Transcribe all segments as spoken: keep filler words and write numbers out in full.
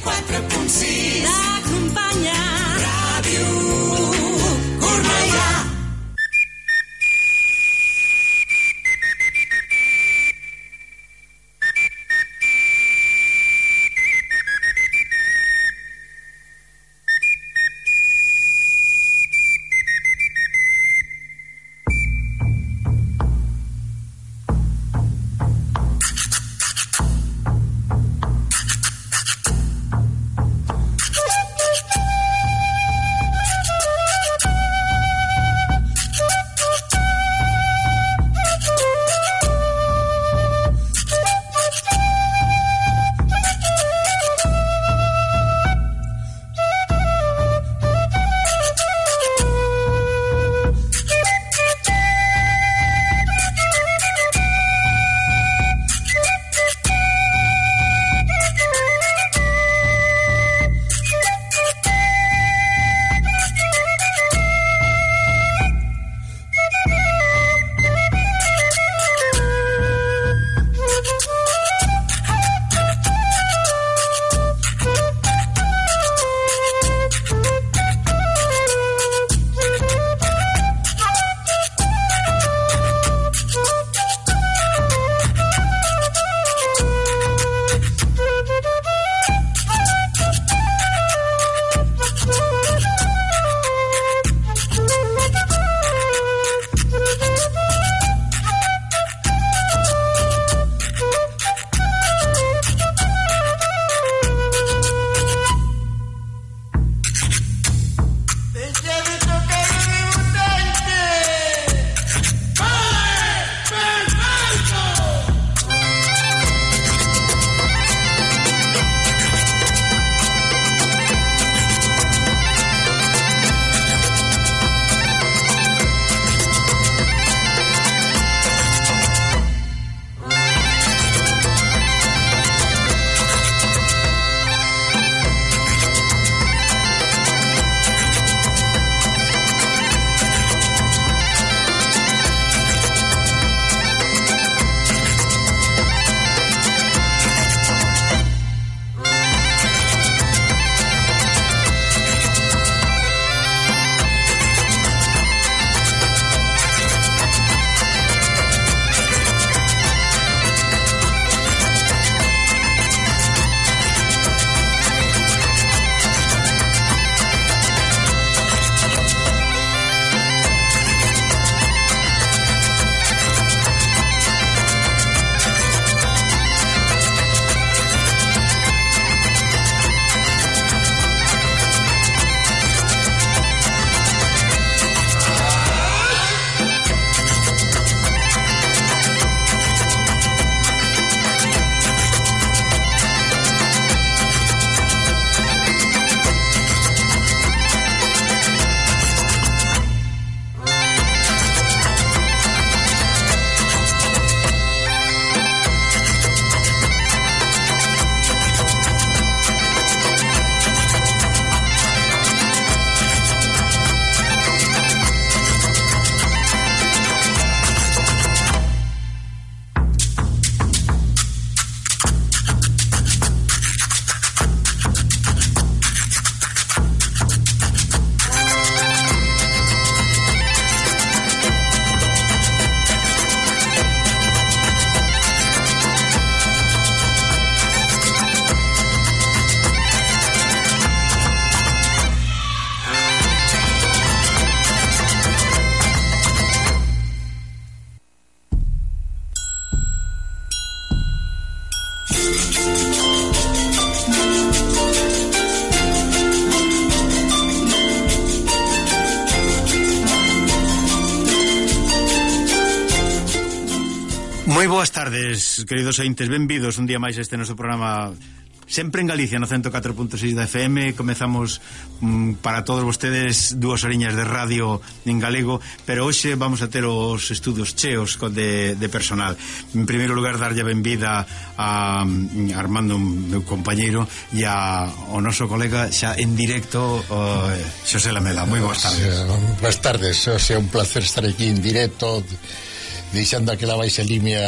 quatre punt sis t'acompanya Ràdio Cornellà. Moi boas tardes, queridos ointes, benvidos un día máis a este noso programa sempre en Galicia, no ciento catro punto seis da F M. Comezamos mm, para todos vostedes dúas oriñas de radio en galego, pero hoxe vamos a ter os estudos cheos de, de personal. En primeiro lugar, darlle a benvida a, a Armando, meu compañeiro, e a, o noso colega xa en directo, o, Xosé Lamela. Moi boas tardes. Boas tardes, é un placer estar aquí en directo deixando aquela baixa línea,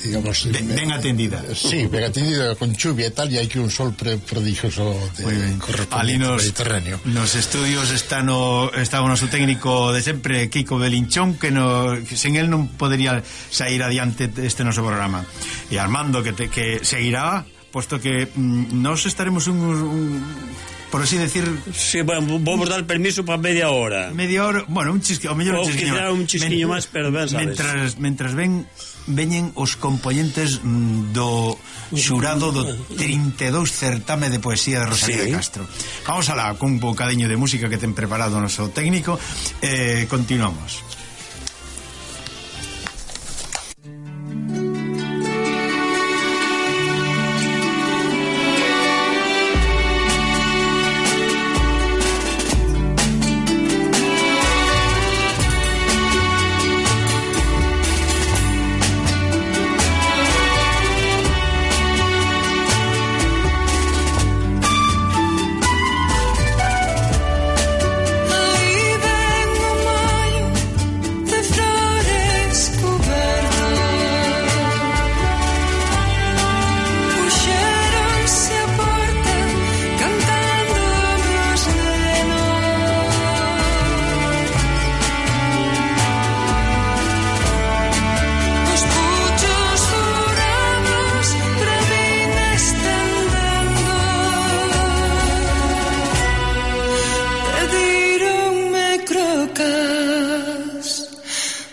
digamos, ben, ben atendida. Sí, ben atendida con chuvia e tal, e hai que un sol pre prodigioso de ali nos, Mediterráneo. Nos estudios está no está o noso técnico de sempre, Kiko Belinchón, que no, que sen el non podería sair adiante este noso programa. E Armando que te, que seguirá, posto que mm, nos estaremos un, un por así decir... Sí, bueno, vamos dar permiso para media hora. Media hora, bueno, un chisquillo, o mellor un chisquillo. Ou quizá un chisquillo máis, pero ben sabes. Mentras, mentras ven veñen os componentes mm, do xurado do trinta e dous certame de poesía de Rosalía sí. de Castro. Vamos alá, con un bocadiño de música que ten preparado o noso técnico. Eh, continuamos.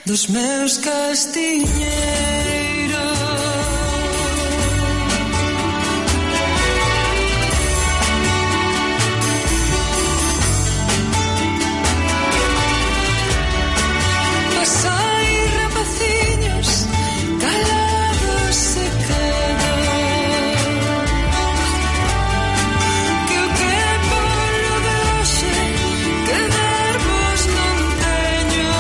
Dos meus castiñeiros. Pasai rapaciños calados se quedan, que o que polo de hoxe quedarvos non teño.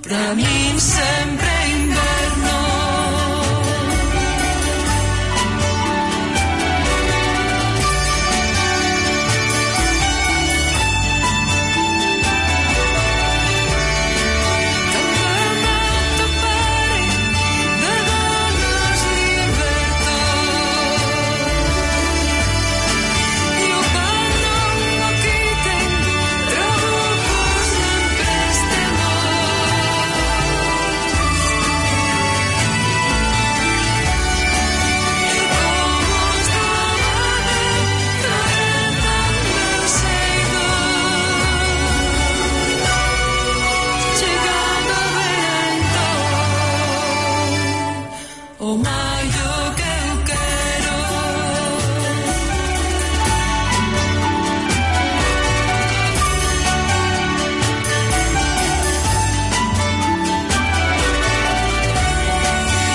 Pra min sempre inverno. Campamento pare de donos liberto, e o pan non o quiten, trabucos non prestemos. O maio que eu quero.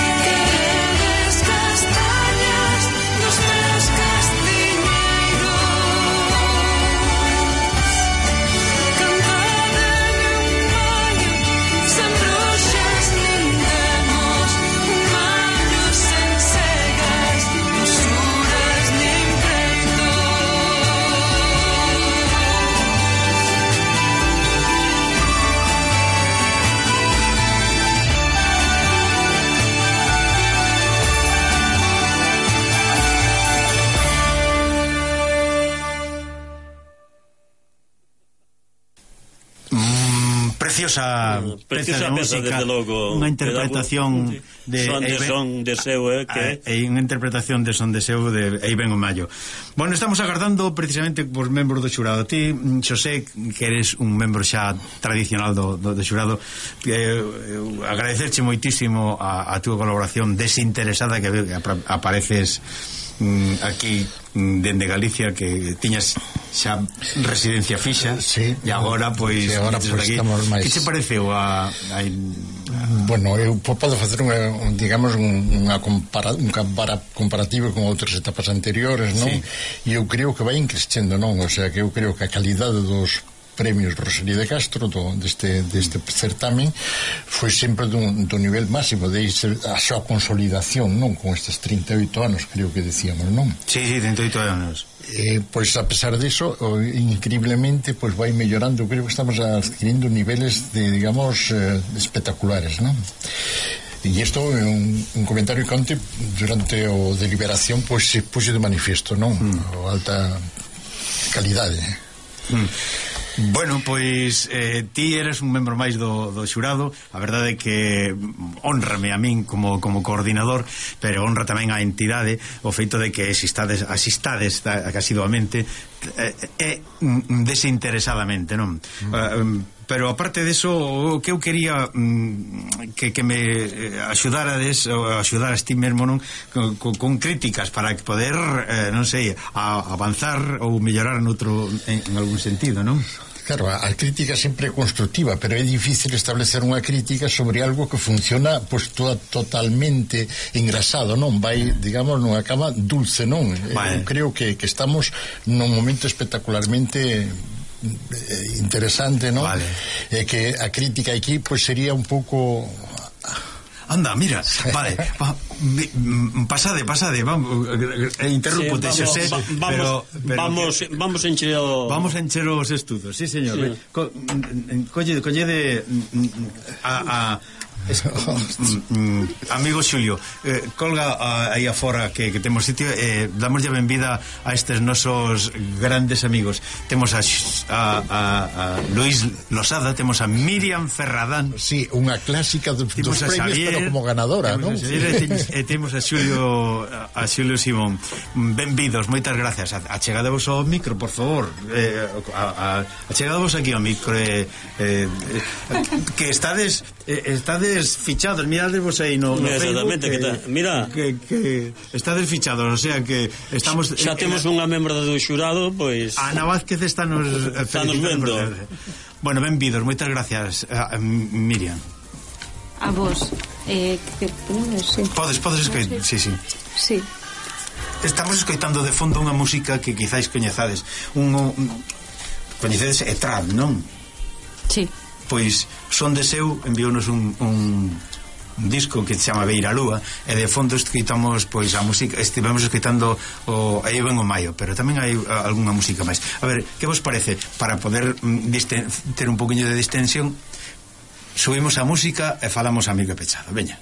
Queredes castañas dos meus castiñeiros. Cantademe un maio sen bruxas nin demos, un maio sen cegas, usuras nin preto. Mm, preciosa, Preciosa peza peza, de música, desde logo. unha interpretación de Son de Eiben- son de seu, eh, que e unha interpretación de son de seu de Eiben o Mayo. Bueno, estamos agardando precisamente por membros do xurado. Ti, Xosé, que eres un membro xa tradicional do, do, do xurado, eh, agradecerche moitísimo a, a túa colaboración desinteresada, que ap- apareces mm, aquí mm, dende Galicia, que tiñas xa residencia fixa, Sí. e agora pois Sí, agora, metes pois, aquí. estamos máis- Que che pareceu a, a, Bueno, eu podo facer unha, un, digamos, unha compara, un compara, comparativo con outras etapas anteriores, non? Sí. E eu creo que vai crescendo, non? O sea, que eu creo que a calidade dos premios Rosalía de Castro do, deste, deste certamen foi sempre do, do nivel máximo de a súa consolidación, non? Con estes trinta e oito anos, creo que decíamos, non? Sí, sí, trinta e oito anos. Eh, pois a pesar diso, o, increíblemente pois vai mellorando, creo que estamos adquirindo niveles de, digamos, eh, espectaculares, non? E isto é un, un comentario que onte durante o deliberación pois se puxe de manifiesto, non? Mm. O alta calidade. Mm. Bueno, pois eh, ti eres un membro máis do, do xurado. A verdade é que honrame a min como, como coordinador, pero honra tamén a entidade o feito de que asistades, asistades asiduamente e eh, eh, desinteresadamente, non? Mm. Uh, pero aparte deso, o que eu quería mm, que, que me axudarades ou axudaras ti mesmo, non? Con, con críticas para poder eh, non sei, a, avanzar ou mellorar noutro, en, en algún sentido, non? Claro, a crítica sempre é constructiva, pero é difícil establecer unha crítica sobre algo que funciona pois toda, totalmente engrasado, non? Vai, digamos, nunha cama dulce, non? Vale. Eu creo que, que estamos nun momento espectacularmente interesante, non? Vale. E que a crítica aquí pois sería un pouco... Anda, mira, vale, va, pasade, pasade, vamos, eh, interrúpute, sí, Xosé, va, vamos, pero, pero vamos, que, vamos a encher o... Vamos a encher os estudos, sí, señor. Sí. Co, colle, colle de a, a Es, mm, mm, amigo Xulio, eh, colga aí afora que, que temos sitio, eh, damos ya benvida a estes nosos grandes amigos. Temos a, a, a, a Luis Losada, temos a Miriam Ferradán. Sí, unha clásica dos, dos premios, Xavier, pero como ganadora, non? E eh, temos a Xulio a Xulio Simón. Benvidos, moitas gracias. Achegadevos ao micro, por favor. Eh, a, a, achegadevos aquí ao micro, eh, eh, que estades eh, estades fichados, miradevos aí no, no exactamente, Facebook, que, que mira que, que estades fichados, o sea que estamos xa temos unha membro do xurado, pois Ana Vázquez está nos vendo. Bueno, benvidos, moitas gracias a, a Miriam. A vos eh, que, no sé. Podes, podes escoitar, sí, sí. Sí. Estamos escoitando de fondo unha música que quizáis coñezades, un, un coñecedes Etrad, non? Sí. Pois Son de Seu enviounos un, un, un disco que se chama Beira Lúa, e de fondo escoitamos pois a música, estivemos escoitando o aí ven o maio, pero tamén hai algunha música máis. A ver, que vos parece? Para poder mm, disten, ter un poquinho de distensión, subimos a música e falamos a amigo pechado. Veña.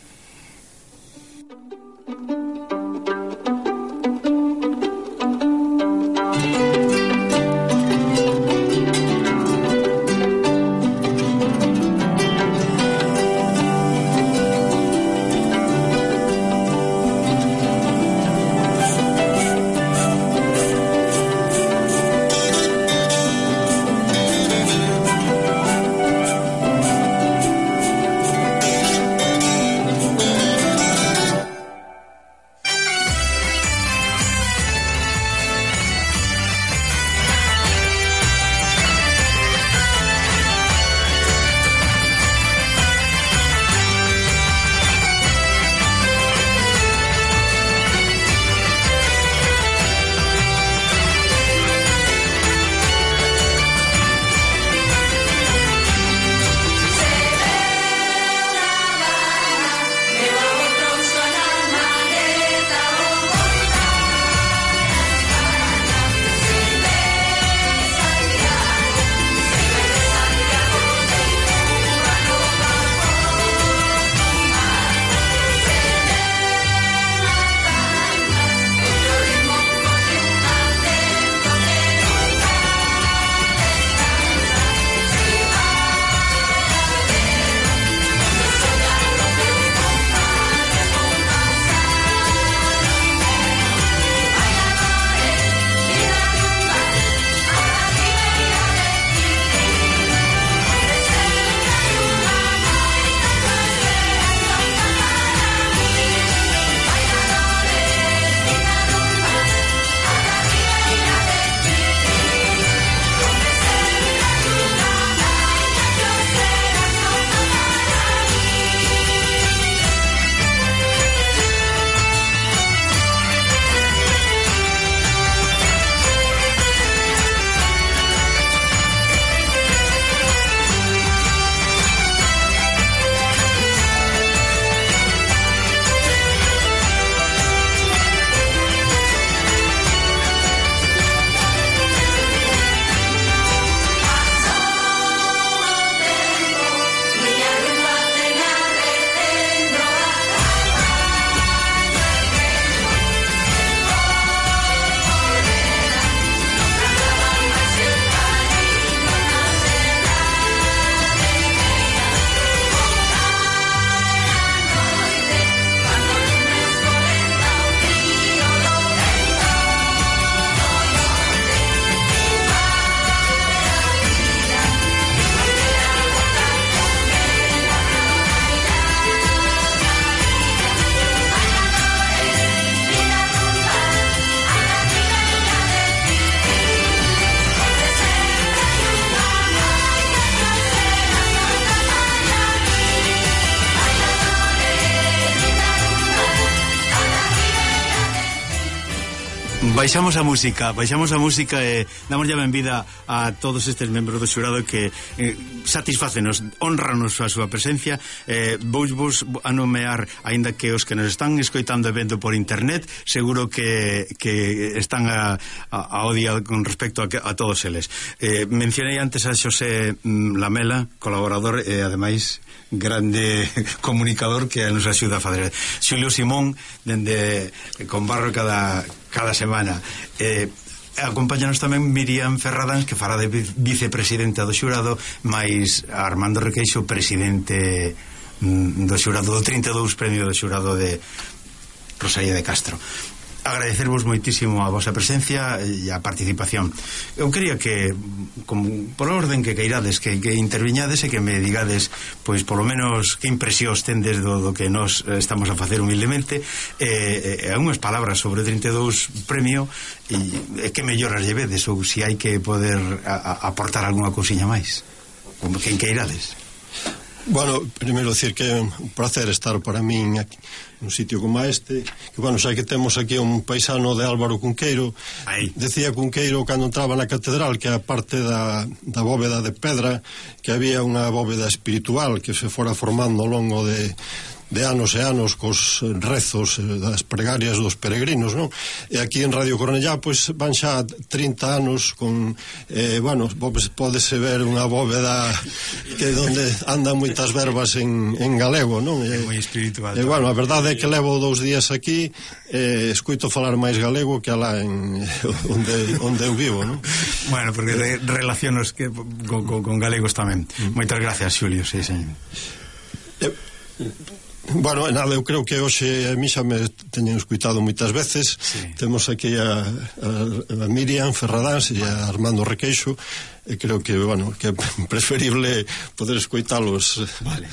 Baixamos a música, baixamos a música e damos ya benvida a todos estes membros do xurado que eh, satisfácenos, honranos a súa presencia. eh, vos vos a nomear, aínda que os que nos están escoitando e vendo por internet, seguro que, que están a, a, ao día con respecto a, a todos eles. eh, mencionei antes a Xosé Lamela, colaborador e ademais grande comunicador que nos axuda a fazer. Xulio Simón, dende con barro cada cada semana. Eh, acompáñanos tamén Miriam Ferradans, que fará de vicepresidenta do xurado, máis Armando Requeixo, presidente mm, do xurado do trinta e dous premio do xurado de Rosalía de Castro. Agradecervos moitísimo a vosa presencia e a participación. Eu quería que, como, por orden que queirades, que, que interviñades e que me digades, pois, polo menos, que impresións tendes do, do que nos estamos a facer humildemente, e, e unhas palabras sobre o trinta e dous premio, e, e que melloras llevedes, ou se hai que poder a, a aportar algunha cousiña máis, como que queirades. Bueno, primeiro decir que é un placer estar para min aquí nun sitio como este, que bueno, xa que temos aquí un paisano de Álvaro Cunqueiro. Aí. Decía Cunqueiro cando entraba na catedral que a parte da, da bóveda de pedra, que había unha bóveda espiritual que se fora formando ao longo de de anos e anos cos rezos das pregarias dos peregrinos, non? E aquí en Radio Cornellá pois van xa trinta anos con eh, bueno, pódese ver unha bóveda que donde andan moitas verbas en, en galego, non? É moi espiritual. E bueno, a verdade é que levo dous días aquí eh, escoito falar máis galego que alá en onde, onde eu vivo, non? Bueno, porque de, relacionos que, con, con, con galegos tamén. Mm. Moitas gracias, Xulio, sí, señor. Eh, Bueno, nada, eu creo que hoxe a mí xa me teñen escuitado moitas veces. Sí. Temos aquí a, a, a Miriam Ferradans e a Armando Requeixo, e creo que, bueno, que é preferible poder escoitalos. Vale.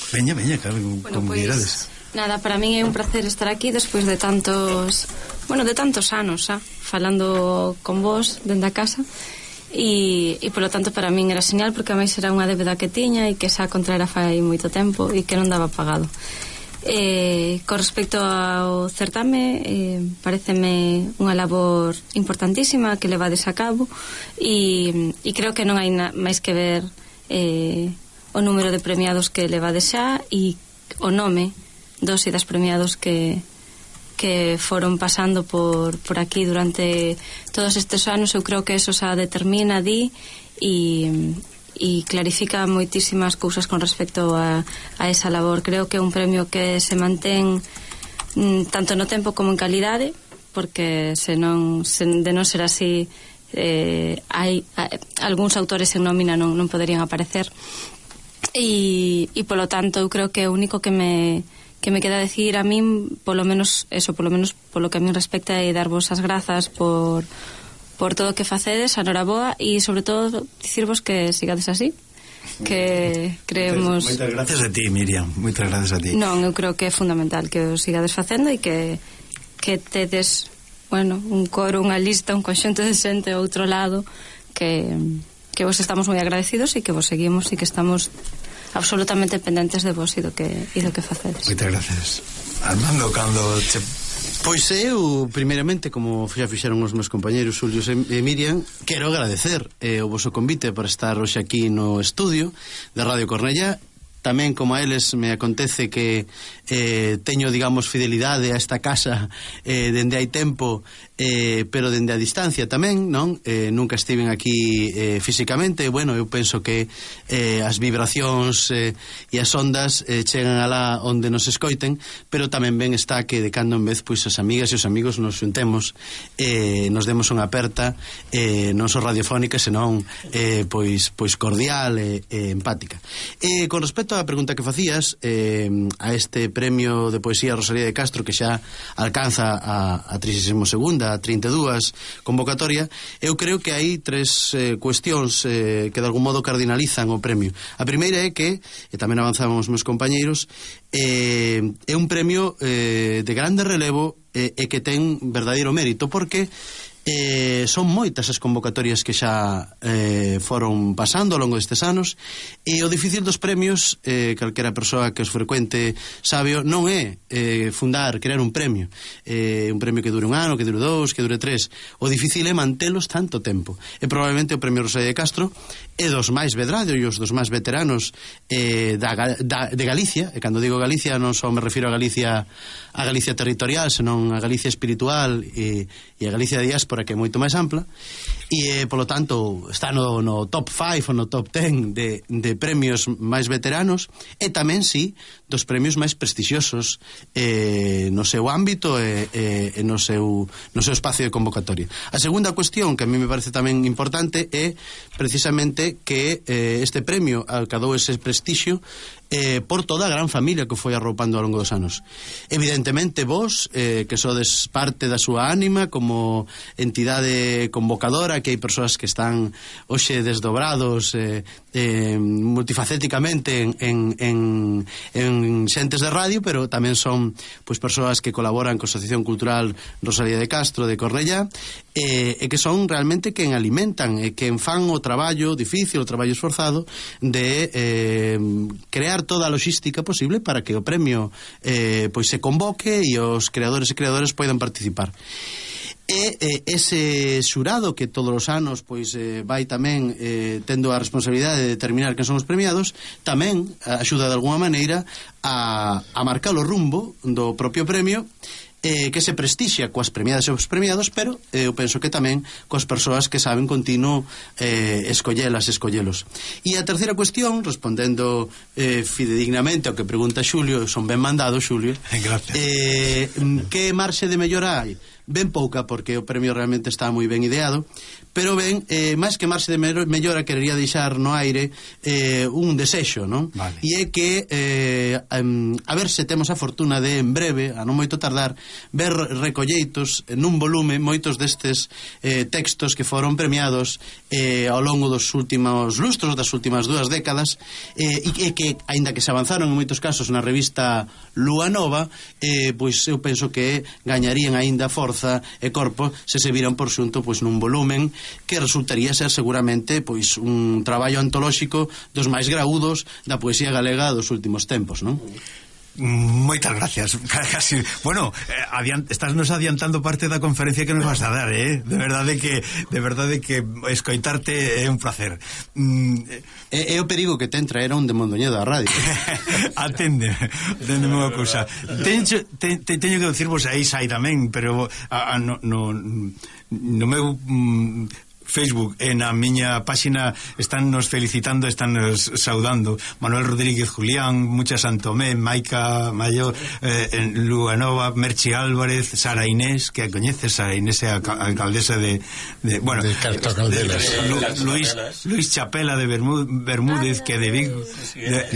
Veña, veña, claro, bueno, como pues, mirades. Nada, para min é un placer estar aquí despois de tantos, bueno, de tantos anos, xa, falando con vos dende a casa. E, e polo tanto para min era señal, porque a máis era unha débeda que tiña e que xa contraera fai moito tempo e que non daba pagado. Eh, con respecto ao certame, eh, pareceme unha labor importantísima que levades a cabo, e, e creo que non hai na, máis que ver eh, o número de premiados que levades xa e o nome dos e das premiados que que foron pasando por, por aquí durante todos estes anos. Eu creo que eso xa determina, di, e, e clarifica moitísimas cousas con respecto a, a esa labor. Creo que é un premio que se mantén mm, tanto no tempo como en calidade, porque se non, se, de non ser así, eh, hai a, algúns autores en nómina non, non poderían aparecer, e, e polo tanto eu creo que o único que me que me queda decir a min, polo menos eso, polo menos polo que a min respecta, é darvos as grazas por por todo o que facedes, a noraboa, e sobre todo dicirvos que sigades así, que creemos... Moitas gracias a ti, Miriam, moitas gracias a ti. Non, eu creo que é fundamental que o sigades facendo e que que tedes, bueno, un coro, unha lista, un conxunto de xente ao outro lado que que vos estamos moi agradecidos e que vos seguimos e que estamos absolutamente pendentes de vos e do que, e do que facedes. Moitas gracias. Armando, cando che... Pois eu, primeiramente, como xa fixeron os meus compañeiros Xulio e Miriam, quero agradecer eh, o voso convite para estar hoxe aquí no estudio de Radio Cornellá. Tamén, como a eles, me acontece que eh, teño, digamos, fidelidade a esta casa eh, dende hai tempo, eh, pero dende a distancia tamén, non? Eh, nunca estiven aquí eh, físicamente. Bueno, eu penso que eh, as vibracións eh, e as ondas eh, chegan alá onde nos escoiten, pero tamén ben está que de cando en vez, pois, as amigas e os amigos nos xuntemos, eh, nos demos unha aperta, eh, non só radiofónica, senón eh, pois, pois cordial e eh, empática. Eh, con respecto a pregunta que facías eh, a este premio de poesía Rosalía de Castro, que xa alcanza a, a trigésima segunda, a trinta e dúas convocatoria, eu creo que hai tres eh, cuestións eh, que de algún modo cardinalizan o premio. A primeira é que, e tamén avanzaban os meus compañeiros, eh, é un premio eh, de grande relevo eh, e que ten verdadeiro mérito, porque Eh, son moitas as convocatorias que xa eh, foron pasando ao longo destes anos, e o difícil dos premios, eh, calquera persoa que os frecuente sabe, non é eh, fundar, crear un premio, eh, un premio que dure un ano, que dure dous, que dure tres. O difícil é mantelos tanto tempo. E probablemente o premio Rosalía de Castro é dos máis vedrados, dos máis veteranos eh, da, da, de Galicia. E cando digo Galicia non só me refiro a Galicia, a Galicia territorial, senón a Galicia espiritual e, e a Galicia de diáspora, que é moito máis ampla, e, eh, polo tanto, está no, no top cinco ou no top ten de, de premios máis veteranos, e tamén, sí, dos premios máis prestixiosos eh, no seu ámbito e, e, e no, seu, no seu espacio de convocatoria. A segunda cuestión que a mí me parece tamén importante é precisamente que eh, este premio alcadou ese prestixio eh, por toda a gran familia que foi arroupando ao longo dos anos. Evidentemente vos, eh, que sodes parte da súa ánima como entidade convocadora, que hai persoas que están hoxe desdobrados eh, eh, multifacéticamente en, en, en, en xentes de radio, pero tamén son pois persoas que colaboran con a Asociación Cultural Rosalía de Castro de Cornellá, eh, e que son realmente quen alimentan e quen fan o traballo difícil, o traballo esforzado de eh, crear toda a logística posible para que o premio eh, pois se convoque e os creadores e creadoras poidan participar. E eh, ese xurado que todos os anos pois eh, vai tamén eh, tendo a responsabilidade de determinar quen son os premiados, tamén axuda de alguma maneira a, a marcar o rumbo do propio premio, eh, que se prestixia coas premiadas e os premiados, pero eh, eu penso que tamén coas persoas que saben continuo eh, escollelas, escollelos. E a terceira cuestión, respondendo eh, fidedignamente ao que pregunta Xulio, son ben mandado, Xulio. Gracias. Eh, que marxe de mellora hai? Ben pouca, porque o premio realmente está moi ben ideado, pero ben, eh, máis que marxe de mellora, querería deixar no aire eh, un desexo, non? Vale. E é que eh, um, a ver se temos a fortuna de, en breve, a non moito tardar, ver recolleitos nun volume moitos destes eh, textos que foron premiados eh, ao longo dos últimos lustros, das últimas dúas décadas, eh, e que, aínda que se avanzaron en moitos casos na revista Lúa Nova, eh, pois eu penso que gañarían aínda forza e corpo se se viran por xunto pois nun volumen que resultaría ser seguramente pois un traballo antolóxico dos máis graúdos da poesía galega dos últimos tempos, non? Moitas gracias. Casi, bueno, eh, adiant, estás nos adiantando parte da conferencia que nos vas a dar, eh? De verdade que de verdade que escoitarte é un placer. Mm, é, é o perigo que ten traer a un de Mondoñedo a radio. Atende, atende unha cousa. Teño, te, te, teño que dicirvos aí sai tamén, pero a, a, no, no, no meu mm, Facebook e na miña páxina están nos felicitando, están nos saudando Manuel Rodríguez Julián, Mucha Santomé, Maica Mayo, eh, en Lúa Nova, Merchi Álvarez, Sara Inés, que a coñeces, Sara Inés é a alcaldesa de, de bueno, de Carto Caldelas, de, Lu, Luis, Luis Chapela de Bermúdez, Bermúdez que de Vigo, de,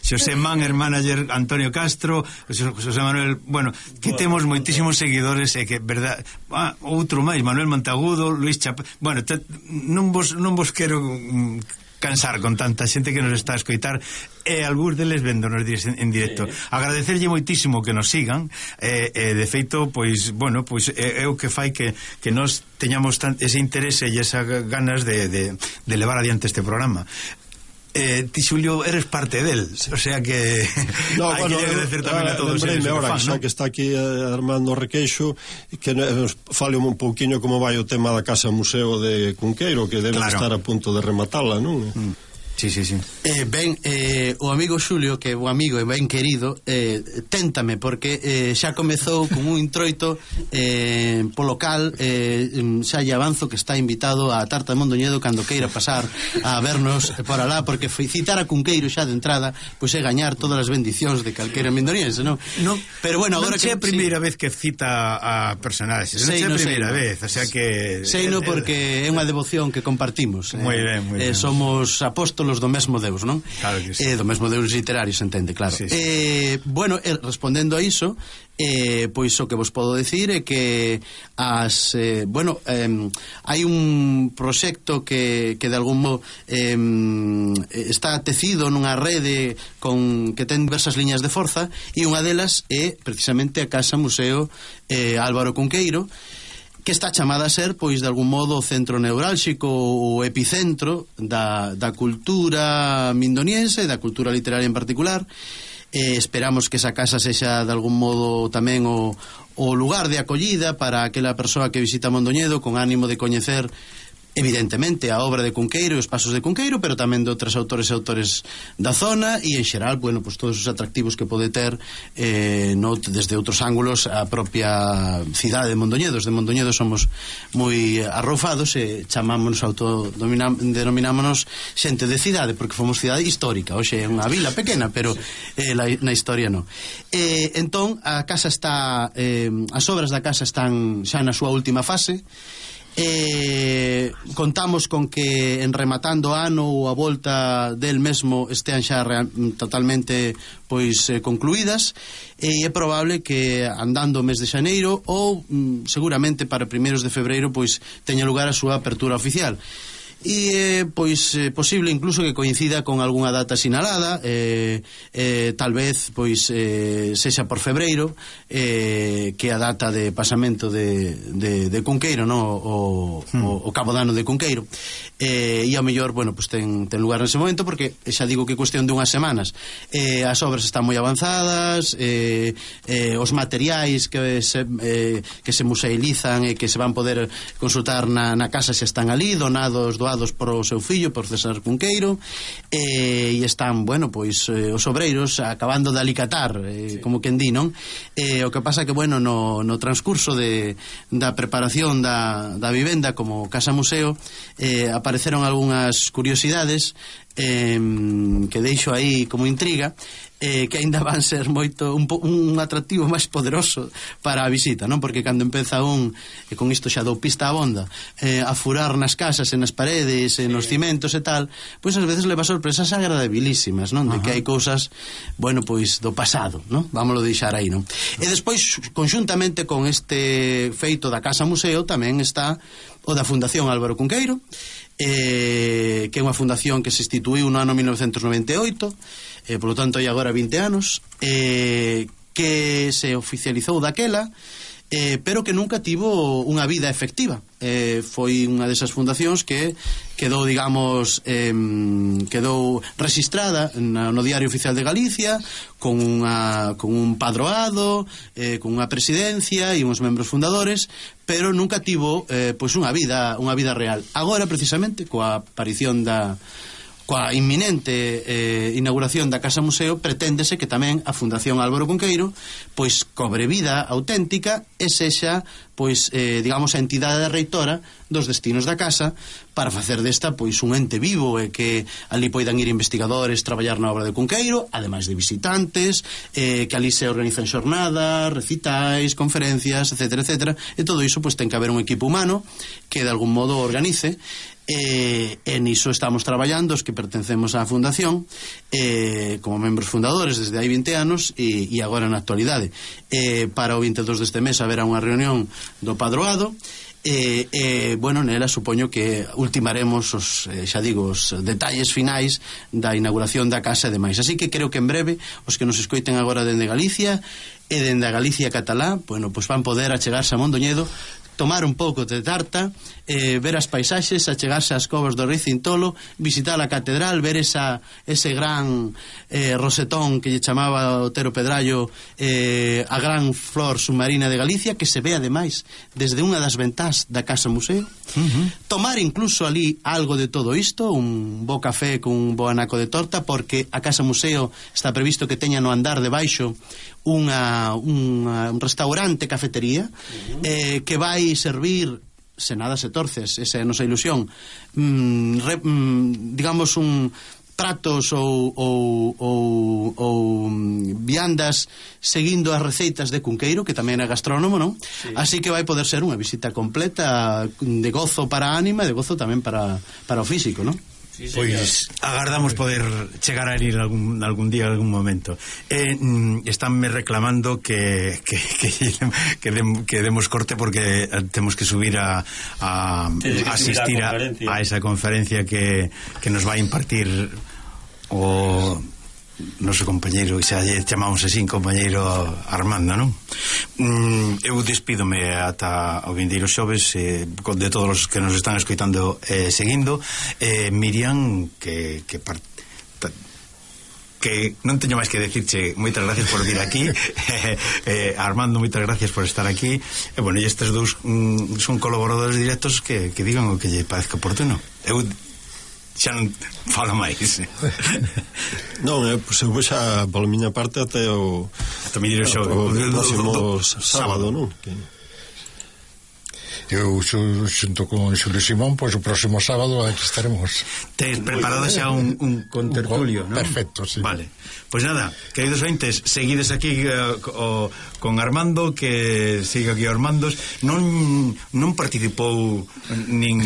Xosé Man, el manager Antonio Castro, José Manuel, bueno, que temos moitísimos seguidores e que, verdad, ah, outro máis, Manuel Montagudo, Luis Chapela. Bueno, te, non, vos, non vos quero mm, cansar con tanta xente que nos está a escoitar e algúns deles véndonos en directo. Agradecerlle moitísimo que nos sigan e, eh, de feito, pois, bueno, pois é, é o que fai que, que nos teñamos tan, ese interese e esas ganas de, de, de levar adiante este programa. Eh, ti, Xulio, eres parte del, o sea que no, hai bueno, que agradecer tamén a todos eles que ahora, fan, xa ¿no? que está aquí eh, Armando Requeixo, que nos fale un pouquiño como vai o tema da Casa Museo de Cunqueiro, que debe claro. estar a punto de rematala, non? Mm. Sí, sí, sí. Eh, ben, eh, o amigo Xulio, que é o amigo e ben querido, eh, téntame, porque eh, xa comezou con un introito eh, polo cal eh, xa lle avanzo que está invitado a Tarta de Mondoñedo cando queira pasar a vernos por alá, porque citar a Cunqueiro xa de entrada pois é gañar todas as bendicións de calquera mindoniense, non? No, pero bueno, agora non que é a primeira sí. vez que cita a personaxes, non é a primeira vez, o sea que sei no porque é unha devoción que compartimos. Moi ben, moi ben. Eh, somos apóstolos do mesmo Deus, non? Claro que sí. Eh, do mesmo Deus literario, se entende, claro. Sí, sí. Eh, bueno, eh, respondendo a iso, eh, pois o que vos podo decir é que as, eh, bueno, eh, hai un proxecto que, que de algún modo eh, está tecido nunha rede con que ten diversas liñas de forza, e unha delas é precisamente a Casa Museo eh, Álvaro Cunqueiro, que está chamada a ser, pois, de algún modo, o centro neurálxico, o epicentro da, da cultura mindoniense, da cultura literaria en particular. Eh, esperamos que esa casa sexa, de algún modo, tamén o, o lugar de acollida para aquela persoa que visita Mondoñedo con ánimo de coñecer evidentemente a obra de Cunqueiro e os pasos de Cunqueiro, pero tamén de outros autores e autores da zona, e en xeral, bueno, pues todos os atractivos que pode ter eh, no, desde outros ángulos a propia cidade de Mondoñedo. De Mondoñedo somos moi arroufados e chamámonos, autodenominámonos xente de cidade, porque fomos cidade histórica. Hoxe é unha vila pequena, pero eh, la, na historia non. Eh, entón, a casa está eh, as obras da casa están xa na súa última fase. Eh, contamos con que en rematando ano ou a volta del mesmo estean xa real, totalmente pois eh, concluídas, e é probable que andando o mes de xaneiro ou mm, seguramente para primeiros de febreiro pois teña lugar a súa apertura oficial. E eh, pois eh, posible incluso que coincida con algunha data sinalada, eh, eh, tal vez pois eh, sexa por febreiro, eh, que a data de pasamento de, de, de Cunqueiro, no? o, hmm. o, o cabo dano de Cunqueiro, eh, e ao mellor, bueno, pues ten, ten lugar nese momento, porque xa digo que é cuestión de unhas semanas. Eh, as obras están moi avanzadas, eh, eh, os materiais que se, eh, que se museilizan e que se van poder consultar na, na casa xa están ali, donados do por o seu fillo, por César Cunqueiro, eh, e están, bueno, pois eh, os obreiros acabando de alicatar, eh, sí. como quen di, non? Eh, o que pasa que, bueno, no, no transcurso de, da preparación da, da vivenda como casa museo, eh, apareceron algunhas curiosidades eh, que deixo aí como intriga, eh, que aínda van ser moito un, un atractivo máis poderoso para a visita, non? Porque cando empeza un, e con isto xa dou pista a bonda, eh, a furar nas casas e nas paredes, sí. e nos cimentos e tal, pois ás veces leva sorpresas agradabilísimas, non? De que hai cousas, bueno, pois do pasado, non? Vámoslo deixar aí, non? E despois, conxuntamente con este feito da Casa Museo, tamén está o da Fundación Álvaro Cunqueiro, eh, que é unha fundación que se instituíu no ano mil novecentos noventa e oito, eh, polo tanto hai agora vinte anos, eh, que se oficializou daquela, eh, pero que nunca tivo unha vida efectiva. Eh, foi unha desas fundacións que quedou, digamos, eh, quedou registrada na, no Diario Oficial de Galicia con, unha, con un padroado, eh, con unha presidencia e uns membros fundadores, pero nunca tivo eh, pois unha vida, unha vida real. Agora, precisamente, coa aparición da coa inminente eh, inauguración da Casa Museo, preténdese que tamén a Fundación Álvaro Cunqueiro pois cobre vida auténtica e sexa, pois, eh, digamos, a entidade reitora dos destinos da casa, para facer desta pois un ente vivo e que ali poidan ir investigadores traballar na obra de Cunqueiro, ademais de visitantes, eh, que ali se organizan xornadas, recitais, conferencias, etcétera, etcétera, e todo iso pois ten que haber un equipo humano que de algún modo organice. E, e niso estamos traballando os que pertencemos á fundación, eh, como membros fundadores desde hai vinte anos e, e agora na actualidade. Eh, para o vinte e dos deste mes haberá unha reunión do padroado. E, eh, bueno, nela supoño que ultimaremos os, eh, xa digo, os detalles finais da inauguración da casa e demais. Así que creo que en breve os que nos escoiten agora dende Galicia e dende a Galicia catalá, bueno, pues van poder achegarse a Mondoñedo, tomar un pouco de tarta, eh, ver as paisaxes, achegarse ás covas do Rei Cintolo, visitar a catedral, ver esa, ese gran eh, rosetón que lle chamaba Otero Pedrallo, eh, a gran flor submarina de Galicia, que se ve ademais desde unha das ventás da Casa Museo. Uh-huh. Tomar incluso ali algo de todo isto, un bo café con un bo anaco de torta, porque a Casa Museo está previsto que teña no andar de baixo unha, unha, un restaurante, cafetería, uh-huh. eh, que vai servir, se nada se torces, esa é a nosa ilusión, mm, re, mm, digamos un pratos ou, ou, ou, ou viandas seguindo as receitas de Cunqueiro, que tamén é gastrónomo, non? Sí. Así que vai poder ser unha visita completa de gozo para a ánima e de gozo tamén para, para o físico, non? Sí, pois agardamos poder chegar a ir algún, algún día, algún momento. Eh, mm, estánme reclamando que que, que, que, dem, que demos corte porque temos que subir a, a, a asistir a, a esa conferencia que, que nos vai impartir o noso compañeiro, xa lle chamamos así, compañeiro Armando, non? Mm, eu despídome ata o vindeiro xoves eh, de todos os que nos están escoitando eh, seguindo eh, Miriam que, que part... que non teño máis que decirche moitas gracias por vir aquí eh, eh, Armando, moitas gracias por estar aquí e bueno, e estes dous mm, son colaboradores directos que, que digan o que lle parezca oportuno. Eu xa non falo máis. Non, eh, pois eu vou xa pola miña parte até o até o show o próximo sábado, non? Que... Eu xunto con Xulio Simón, pois o próximo sábado aquí estaremos. Tes preparado xa un, un contertulio, non? Perfecto, sí. Vale. Pois pues nada, queridos ointes, seguides aquí uh, o, con Armando, que siga aquí Armandos. Non non participou nin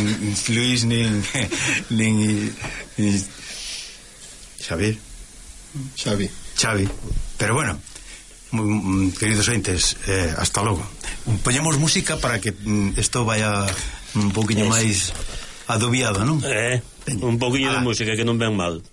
Luis nin nin, nin Xavi. Xavi. Xavi. Pero bueno, queridos ointes, eh, hasta logo. Poñemos música para que isto mm, vaya un poquinho máis adobiado, non? Eh, un poquinho de música que non ven mal.